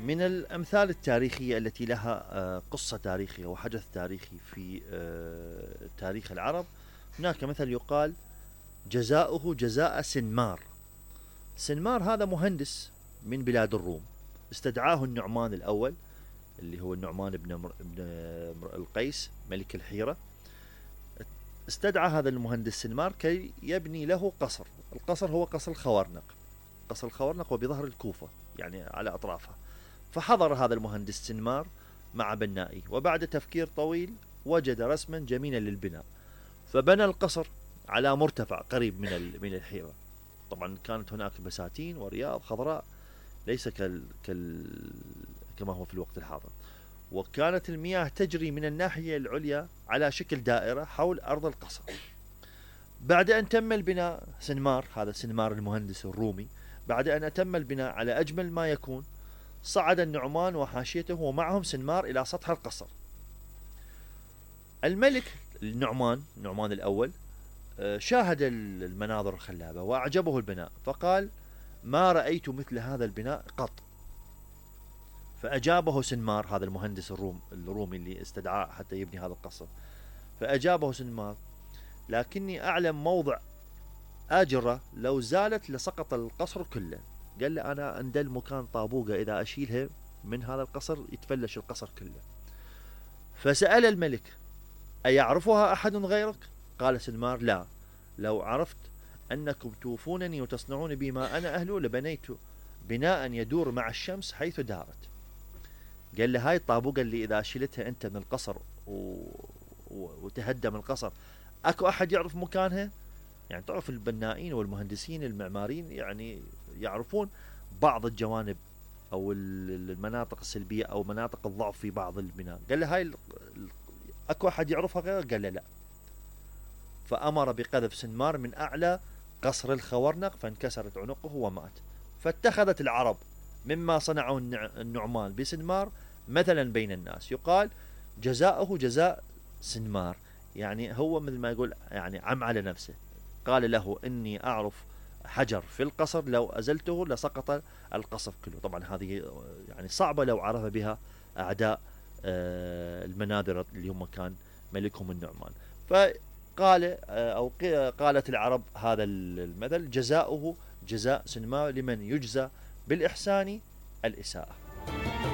من الأمثال التاريخية التي لها قصة تاريخية وحدث تاريخي في تاريخ العرب، هناك مثل يقال: جزاؤه جزاء سنمار. سنمار هذا مهندس من بلاد الروم، استدعاه النعمان الأول اللي هو النعمان بن القيس ملك الحيرة. استدعى هذا المهندس سنمار كي يبني له قصر. القصر هو قصر الخوارنق. قصر الخوارنق وبظهر الكوفة، يعني على أطرافها. فحضر هذا المهندس سنمار مع بنائه، وبعد تفكير طويل وجد رسما جميلا للبناء، فبنى القصر على مرتفع قريب من الحيرة. طبعا كانت هناك بساتين ورياض خضراء، ليس كما هو في الوقت الحاضر. وكانت المياه تجري من الناحية العليا على شكل دائرة حول أرض القصر. بعد أن تم البناء، سنمار، هذا سنمار المهندس الرومي، بعد أن أتم البناء على أجمل ما يكون، صعد النعمان وحاشيته ومعهم سنمار إلى سطح القصر. الملك النعمان الأول شاهد المناظر الخلابة وأعجبه البناء، فقال: ما رأيت مثل هذا البناء قط. فأجابه سنمار، هذا المهندس الرومي اللي استدعاه حتى يبني هذا القصر، فأجابه سنمار: لكني أعلم موضع آجرة لو زالت لسقط القصر كله. قال له: أنا عند المكان طابوقة إذا أشيلها من هذا القصر يتفلش القصر كله. فسأل الملك: أيعرفها أحد غيرك؟ قال سنمار: لا، لو عرفت أنكم توفونني وتصنعون بي ما أنا أهله لبنيت بناء يدور مع الشمس حيث دارت. قال له: هاي الطابوقة اللي إذا شلتها أنت من القصر وتهدم القصر، أكو أحد يعرف مكانها؟ يعني تعرف البنائين والمهندسين المعماريين يعني يعرفون بعض الجوانب أو المناطق السلبية أو مناطق الضعف في بعض البناء. قال له: هاي أكو أحد يعرفها غيره؟ قال له: لا. فأمر بقذف سنمار من أعلى قصر الخورنق، فانكسرت عنقه ومات. فاتخذت العرب مما صنعه النعمان بسنمار مثلا بين الناس، يقال: جزاؤه جزاء سنمار. يعني هو مثل ما يقول يعني عم على نفسه، قال له: إني أعرف حجر في القصر لو أزلته لسقط القصر كله. طبعا هذه يعني صعبة لو عرف بها أعداء المناذرة اللي هم كان ملكهم النعمان. فقال أو قالت العرب هذا المثل: جزاؤه جزاء سنمار، لمن يجزى بالإحسان الإساءة.